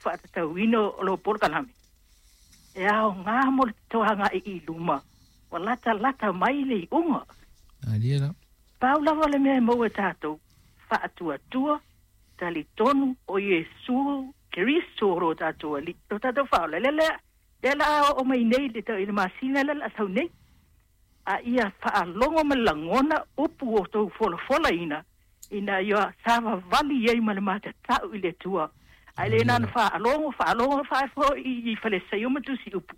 faatatauina o lou polokalame e aoga mo le toaga'i i luma ua latalata mai le iuga. Malie la. Pau lava le mea e maua e tatou, faatuatua, talitonu o Iesu Keriso o lo tatou Alii, lo tatou Faaola. Lea lea lea la a oo mai nei i le masina lea la a sau nei. A ia faalogo ma le lagona upu o tou folafolaina ina ia savavali ai ma le matatau i le Atua. Ae le na ona faalogo, faalogo, faafoi i Falesaio ma Tusi Upu.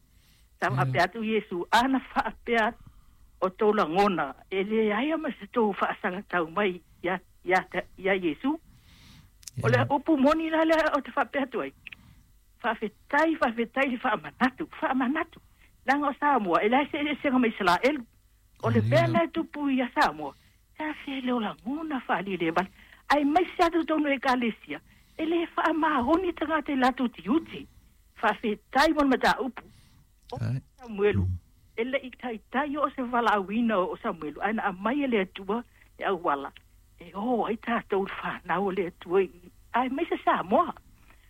Sa faapea atu Iesu, ana faapea o tou lagona, e leai ma se tou faasagatau mai ia, ia, ia Iesu. O le upu moni la lea o te faapea atu ai. Faafetai, faafetai le faamanatu, faamanatu. Leaga o Samoa, e leai se eseesega ma Isaraelu. O le mea lena e tupu ia Samoa, e afea le o lagona faalelevale. Aemaise atu totonu o ekalesia, e le faamaoni tagata i latou tiute. Faafetai mo le mataupu. O Samuelu, e le i taitai oo se valaauina o Samuelu, ae na aumai e le Atua le auala e o ai tatou le fanau o le Atua i, aemaise Samoa.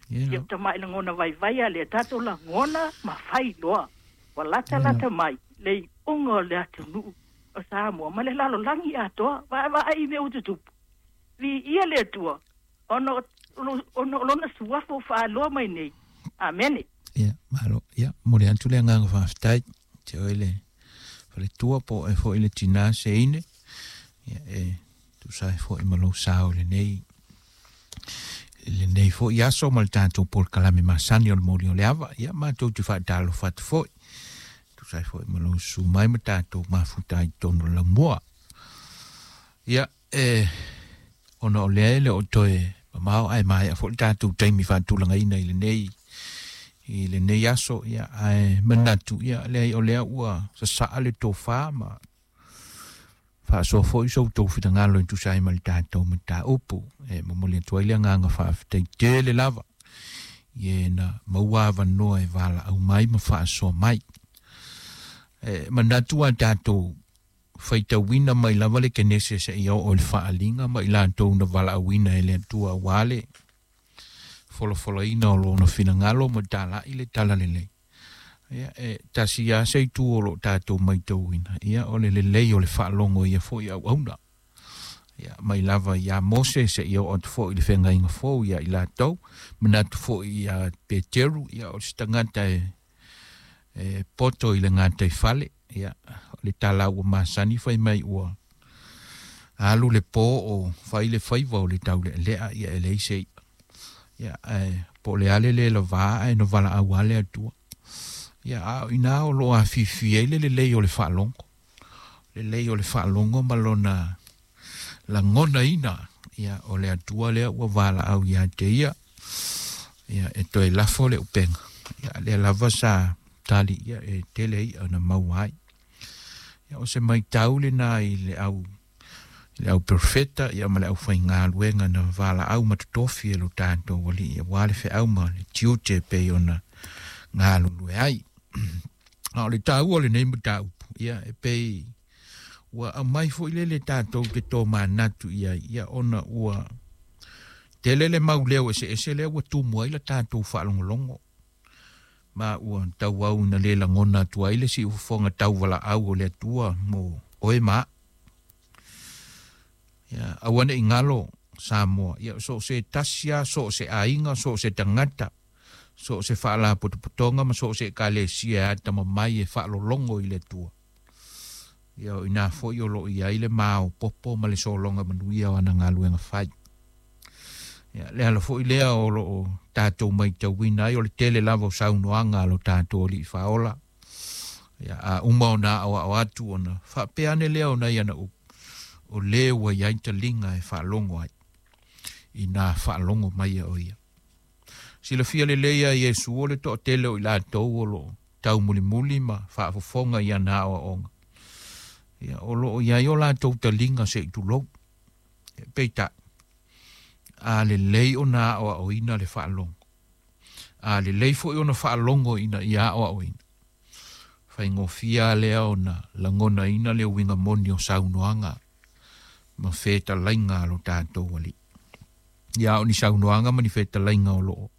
Ia tamai lagona vaivai a lea tatou lagona ma fai loa. Ua latalata mai le iuga o le atunuu o Samoa ma le lalolagi atoa. Vaavaai i mea ua tutupu. Viia le Atua ona o lona suafa ua faaloa mai nei. Amene. Ia, malo. Ia, momoli atu le agaga faafetai. Te oe le faletua po o oe foi le tinā seine. Ia, e tusa ai foi ma lou sao i lenei i lenei foi aso ma le tatou polokalame masani o le moli o le ava. Ia, matou te faatalofa atu foi. Tusa ai foi ma lou susu mai ma tatou mafuta ai totonu o le laumua. Ia, e, ona o lea e le o toe mamao ae maea foi le tatou taimi faatulagaina i lenei i lenei aso, ia, ae manatu, ia, leai o lea ua sasaa le tofa ma faasoa foi so outou finagalo e tusa ai ma le tatou mataupu. E momoli atu ai le agaga faafetai tele lava i e na maua avanoa e valaau mai ma faasoa mai. E manatu a tatou faitauina mai lava le Kenese seia oo i le Faaaliga ma i latou na valaauina e le Atua aua le folafolaina o lona finagalo ma talai le talalelei. Ia, e tasi lava se itu o lo o tatou maitauina, ia, o le lelei o le faalogo i ia foi auauna. Ia, mai lava iā Mose seia oo atu foi i le Feagaiga Fou ia i latou, manatu foi iā Peteru, ia, o se tagata e e poto i le gataifale, ia, o le tala ua masani fai mai ua alu le po o fai le faiva o le taulealea, ia e leai se i'a. Ia, ae po o le a le lē lavā ae na valaau lava le Atua. Ia, a o inā o lo o afifi ai le lelei o le faalogo, lelei o le faalogo ma lona lagonaina, ia, o le Atua lea ua valaau ia te ia, ia, e toe lafo le upega, ia, lea lava sa tali ia e tele i'a na maua ai. Ia, o se maitau lena i le au i le au perofeta ia ma le aufaigaluega na valaau ma totofi e lo tatou Alii aua le feau ma le tiute e pei ona galulue ai. A o le taua o lenei mataupu, ia e pei ua aumai foi lele tatou te tomanatu i ai, ia ona ua tele le mau leo eseese lea ua tumu ai la tatou faalogologo, ma ua tauau ina le lagona atu ai le siufofoga tauvalaau o le Atua mo oe ma a'u. Ia, aua ne i galo Samoa, ia so o se tasi lava, so o se aiga, so o se tagata, so o se faalapotopotoga ma so o se ekalesia e atamamai e faalologo i le Atua. Ia, o inā foi o lo o i ai le maopoopo ma le sologa manuia o ana galuega fai. Ia, le ala foi lea o lo o tatou maitauina ai o le tele lava o saunoaga a lo tatou Alii Faaola. Ia, a uma ona aoao atu ona faapea ane lea o nai ana upu, o le ua i ai taliga e faalogo ai, inā faalogo mai o ia. Silafia lelei e Iesu o le toatele o i latou o lo o taumulimuli ma faafofoga i ana aoaoga, ia, o lo o i ai o latou taliga se i tulou. Peitai, a lelei ona aoaoina le faalogo, a lelei foi ona faalogo ina ia aoaoina, faigofie lea ona lagonaina le uiga moni o saunoaga ma fetalaiga a lo tatou Alii. Ia, o ni saunoaga ma ni fetalaiga o lo o